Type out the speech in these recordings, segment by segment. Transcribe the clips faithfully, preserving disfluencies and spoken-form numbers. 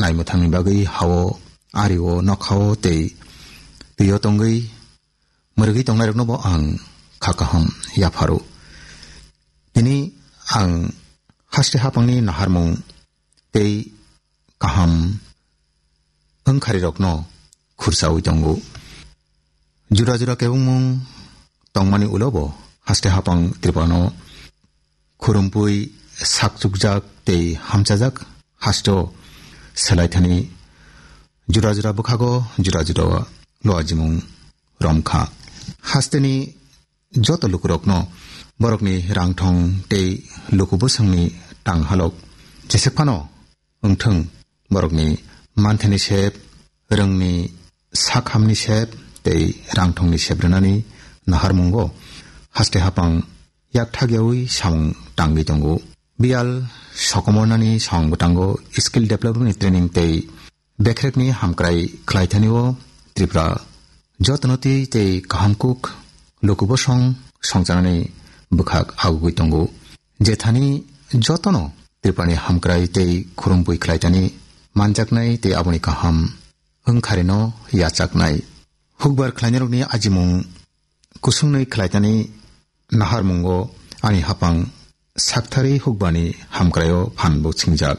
naimwthangni bagwi hao, ario, nokhao tei twio tongwi mwrwgwi tongnairokno bo ang kha kaham yapharo. Tini ang haste hapangni naharmung tei kaham wngkharirokno khursaui tongo. Jura jura kebengmung tongmani ulo bo haste hapang Tripurano khurumpui sakchukjak tei hamchajak hasteo selaithani jura jura bwkhago jura jura luajimung romkha. Hasteni joto lukurokno borokni rangthong tei luku bwswngni tanghalok jesek phano wngthwng, borokni manthani sep, rwngni sakhamni sep tei rangthongni sep rwnani naharmungo haste hapang yakthakyaui samung tangwi tongo. Biyal sokomornani samung bwtango skill development training tei bekhrekni hamkrai khlaithanio Tripura jotono twi tei kahamkuk lukubosong songchanani bwkhak agugwi tongo. Jethani jotono Tripurani hamkrai tei khurumpui khlaitani manjaknai tei aboni kaham wngkharino yachaknai. Hukbar khlainairokni ajimung kusungni khlaitani naharmungo ani hapang sakthari hukbarni hamkraio phanbo singjak.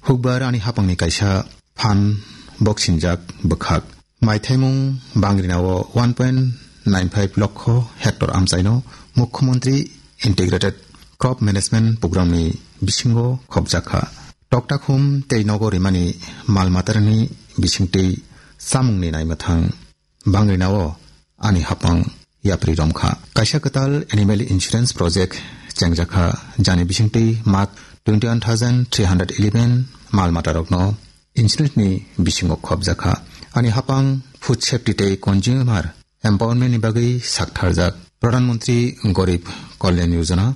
Hukbar ani hapangni kaisa phan boksinjak bwkhak. Maithaimung bangrinao one point nine five lokho hectare amchaino Mukhyamantri Integrated Crop Management Programni bisingo khopjakha. Toktakhum tei nogo rimani mal matarni bisingtwi chamungni naimwthang bangrinao ani hapang yapri romkha. Kaisa kwtal animal insurance project chengjakha, jani bisingtwi mak twenty one thousand three hundred eleven mal matarokno insurance ni bisingo khopjakha. Ani hapang food safety tei consumer empowerment ni bagwi saktharjak. Pradhan Mantri Garib Kalyan Yojana,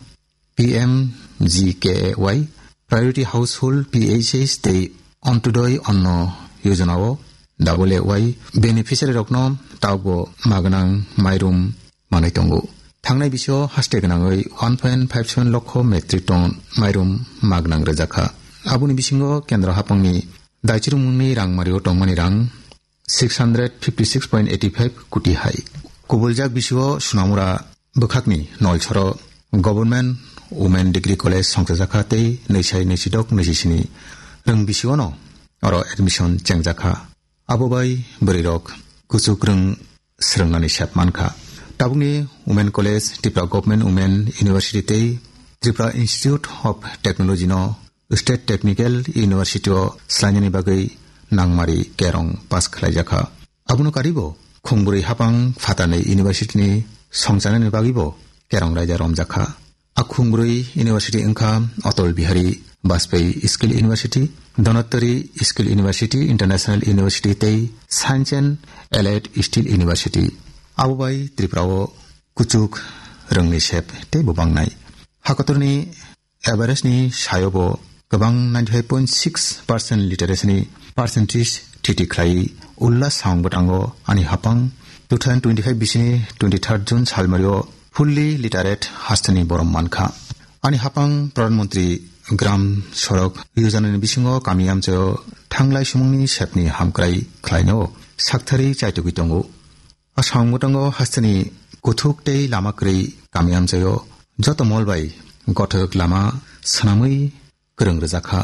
P M G K A Y, Priority Household, P H H, tei Antyodoi Anna Yojana o double A Y beneficiary rokno tabukbo magnang mairum manwi tongo. Thangnai bisio haste gwnangwi one point five seven lokho metric ton mairum magnang rwjakha. Aboni bisingo kendro hapangni daichirmungni rangmario tongmani rang six hundred fifty six point eighty five koti hai. Kubuljak bisio Sonamura bwkhakni Nolsoro Government Women Degree College songchajakha tei nwisai nwisidok nwisisini rwng bisiono oro admission chengjakha. Abo bai bwrwirok kuchuk rwng swrwngnani sep mankha. Tabukni Women College, Tripura Government Women University tei Tripura Institute of Technology no State Technical University o swlainani bagwi nangmari kerong pass khlaijakha. Abono karibo khungbrwi hapang phatarni university ni songchanani bagwibo kerong raida romjakha. A khungbrwi university wngkha Atal Bihari Vajpayee Skill University, Dhanantari Skill University, International University tei Science and Allied Skill University. Abo bai Tripura o kuchuk rwngni sep teibo bangnai. Hakotorni average ni sayobo kwbang ninety five point six percent literacy ni percentage thiti khlai ulla samung bwtango ani hapang two thousand twenty-five bisini twenty-third June salmario fully literate hasteni borom mankha. Ani hapang Pradhan Mantri Gram Sadak Yojana ni bisingo kami amchaio thanglai sumungni sepni hamkrai khlaino sakthari chaitugwi tongo. A samung bwtango hasteni kuthuk tei lama kwrwi kami amchaio joto mol bai gothok lama swnamwi kwrwng rwjakha.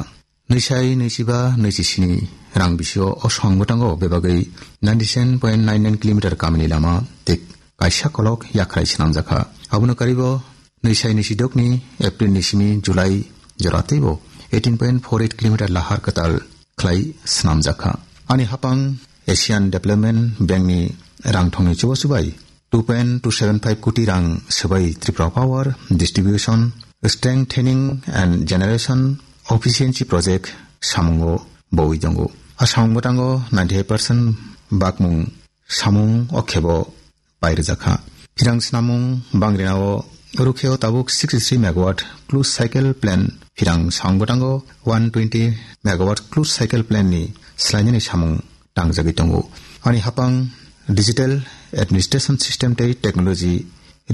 Nwisai nwichiba nwisisini rang bisio o samung bwtango bebagwi ninety seven point nine nine kilometer kamini lama tei kaisa kolok yakrai swnamjakha. Abono karibo nwisai nwisidokni April ni simi July jora teibo eighteen point four eight kilometer lahar kwtal khlai swnamjakha. Ani hapang Asian Development Bank ni rangthongni chubachu bai two point two seven five koti rang swbai Tripura Power Distribution Strengthening and Generation Efficiency Project samungo bowi tongo. A samung bwtango ninety-five percent bakmung samung o khebo pairwjakha. Phirang swnamung bangrinao rukheo tabuk sixty-three megawatt closed cycle plant, phirang samung bwtango one twenty megawatt closed cycle plant ni swlainani samung tangjagwi tongo. Ani hapang digital administration system tei technology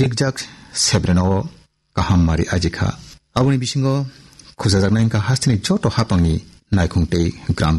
rikjak sebrenao kaham mari ajikha. Aboni bisingo khujajaknai wngkha hasteni joto hapangni naikhung tei gram